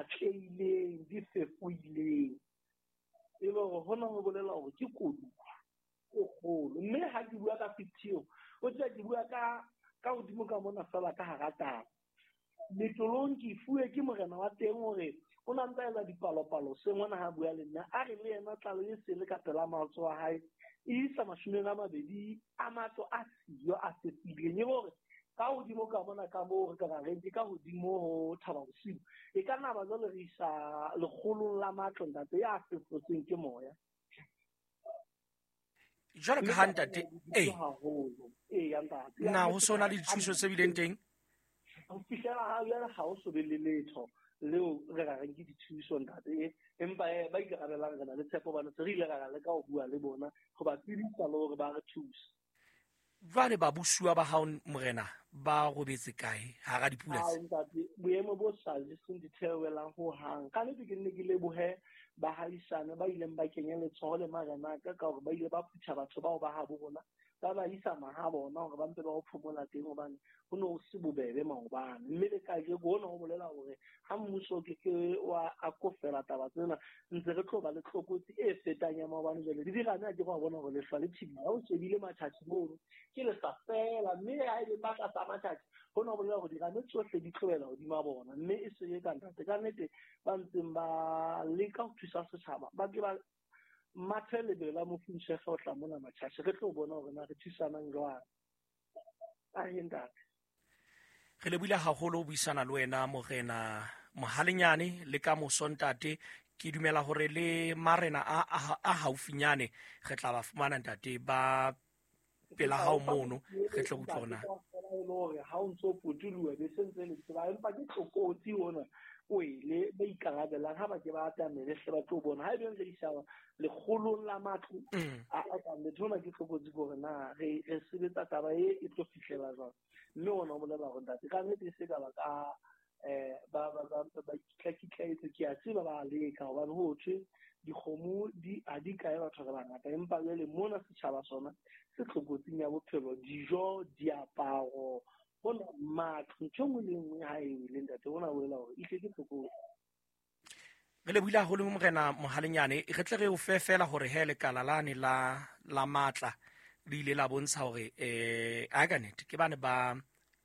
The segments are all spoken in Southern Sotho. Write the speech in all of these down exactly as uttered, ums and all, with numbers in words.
pshatlehileng, di fefoileng. E le hore hona ho bolela hore ke koduwa e kgolo. Mme ha ke bua ka fifty eo, o tseba ke bua ka ka hodimo ka mona fela ka hara taba. Letolong ke fuwe ke morena wa teng hore o na ntsa etsa dipalopalo se ngwana ha bua le nna, a re le yena tlalo e sele ka pela matsoho a hae e isa mashome a mabedi a matlo a siyo a fefileng. E hore ka hodimo ka mona ka moo re ka ra reng ke ka hodimo ho Thaba Bosiu, e ka nna ba jwale re isa lekgolong la matlo ntate ya fefotsweng ke moya. Jwalo ka ha ntate eh haholo ee ya ntate na ho sona le dithuso tse bileng teng ho fihlela ha jwale ha ho so be le letho leo re ra reng ke dithuso ntate, empa ba ikarabelang re na le tshepo hobane se re ile ra leka ho bua le bona ho ba tsebisa le hore ba re thuse. Jwale babusuwa ba hao morena ba robetse kae hara dipula tse? Ntate, boemo bo sa jeseng ditheohelang ho hang. Ka nnete ke nne ke lebohe bahaisane ba ileng ba kenya letsoho le marena ka ka hore ba ile ba phutha batho bao ba habo rona, ba ba isa maha bona hore ba mpe ba ho phomola teng hobane ho ne ho se bobebe maobane. Mme le kajeko hona ho bolela hore ha mmuso o ke ke wa akofela taba tsena, ntse re tlo ba le tlokotsi e fetang ya maobane. Jwale le dirame ha ke wa bona hore lehlwa le thibile, ha o shebile matjhatjhi mono ke lehlwa fela, mme ha e le ba tlasa matjhatjhi hona ho bolela hore dirame tsohle di tlohela hodima bona. Mme e se e ka ntate, ka nnete ba ntseng ba leka ho thusa setjhaba ba ke ba mathe lebelo la mofunshefe ho tla mona matjhatjhi, re tlo bona hore na re thusanang jwang. Ahe ntate. Re lebohile haholo ho buisana le wena morena Mohalenyane le ka moso ntate. Ke dumela hore le marena a, a, a haufinyane re tla ba fumana ntate ba pela hao mono, re tle utlwa hore na hore ha o ntso potoloha be se ntse le tseba, empa ke tlokotsi ona o ile ba ikarabelang ha ba ke ba atamele hle ba tlo bona ha ebe re isa lekgolong la matlo a a ka letho. Hona ke tlokotsi hore na re re sebetsa taba e e tlo fihlela jwang. Mme ona o bolela hore ntate ka nnete e se ka ba ka eh ba ba ba ba ikitlaitlaetse. Ke a tseba ba leka hobane ho thwe dikgomo di ha di kae batho re bangata, empa jwale mona setjhaba sona se tlokotsing ya bophelo, dijo, diaparo, hona matlo, ntho e nngwe le e nngwe ha e wele ntate, hona bolela hore ehlile ke tlokotsi. Re lebohile haholo morena Mohalenyane. Re tle re o fe fela hore he lekala lane la la matla le ile la bontsha hore eh a ka nnete ke bane ba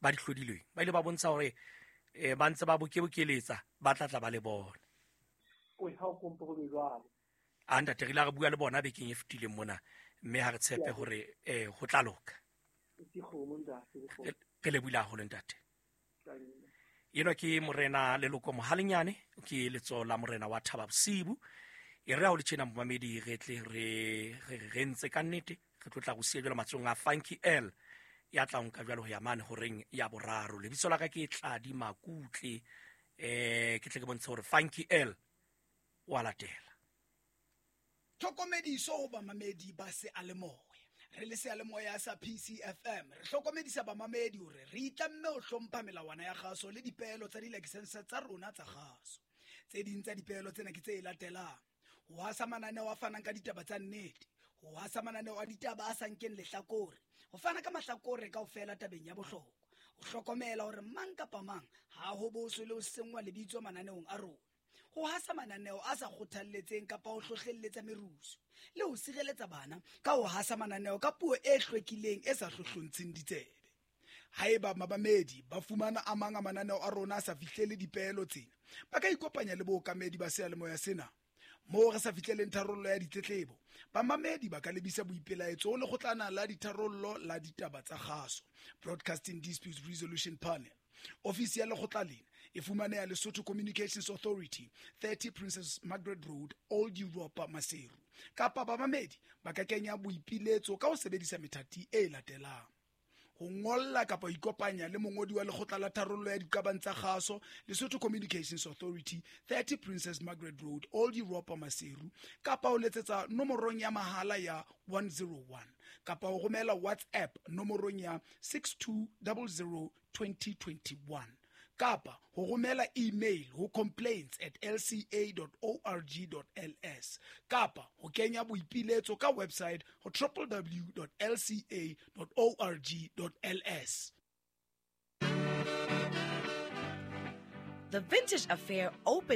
ba di hlodilweng, ba ile ba bontsha hore eh ba ntse ba bokebokeletsa ba tla tla ba le bona. Oi, ha o kompe ho be jwalo. A ntate, re ile re bua le bona bekeng e fetileng mona, mme ha re tshepe hore eh ho tla loka. Ke kgomo ntate, ke kgomo. Re lebohile haholo ntate. Enwa ke morena Leloko Mohalenyane, ke letsoho la morena wa Thaba Bosiu. E re ha o le tjena momamedi, re tle re re re ntse ka nnete, re tlo tla go siya jwalo matsohong a Funky L ya tla nka jwalo ho ya mane horeng ya boraro. Lebitso la ka ke Tladi Makutle, eh ke tle ke bontshe hore Funky L wa latela. Tlhokomediso ho bamamedi ba seyalemoya. Re le seyalemoya sa P C F M re hlokomedisa bamamedi hore re itlamme ho hlompha melawana ya kgaso le dipeelo tsa dilakesense tsa rona tsa kgaso. Tse ding tsa dipeelo tsena ke tse latelang: ho hasa mananeo a fanang ka ditaba tsa nnete, ho hasa mananeo a ditaba a sa nkeng lehlakore, ho fana ka mahlakore kaofela tabeng ya bohlokwa, ho hlokomela hore mang kapa mang ha ho boswe le ho senngwa lebitso mananeong a rona, ho hasa mananeo a sa kgothalletseng kapa ho hlohlelletsa merusu, le ho sireletsa bana ka ho hasa mananeo ka puo e hlwekileng e sa hlohlontsheng ditsebe. Haeba mabamedi ba fumana a mang a mananeo a rona a sa fihlele dipeelo tsena, ba ka ikopanya le bookamedi ba seyalemoya sena. Moo re sa fihleleng tharollo ya ditletlebo, bamamedi ba ka lebisa boipelaetso ho lekgotlana la ditharollo la ditaba tsa kgaso, Broadcasting Dispute Resolution Panel. Ofisi ya lekgotla lena e fumaneha Lesotho Communications Authority, thirty Princess Margaret Road, Old Europa, Maseru. Kapa bamamedi ba ka kenya boipiletso ka ho sebedisa methati e latelang: ho ngolla kapa ho ikopanya le mongodi wa lekgotla la tharollo ya diqabang tsa kgaso, Lesotho Communications Authority, thirty Princess Margaret Road, Old Europa, Maseru, kapa ho letsetsa nomorong ya mahala ya one zero one, kapa ho romela WhatsApp nomorong ya six two zero zero twenty twenty one, kapa ho romela email ho complaints at l c a dot org dot l s, kapa ho kenya boipiletso ka website ho w w w dot l c a dot org dot l s. The Vintage Affair opened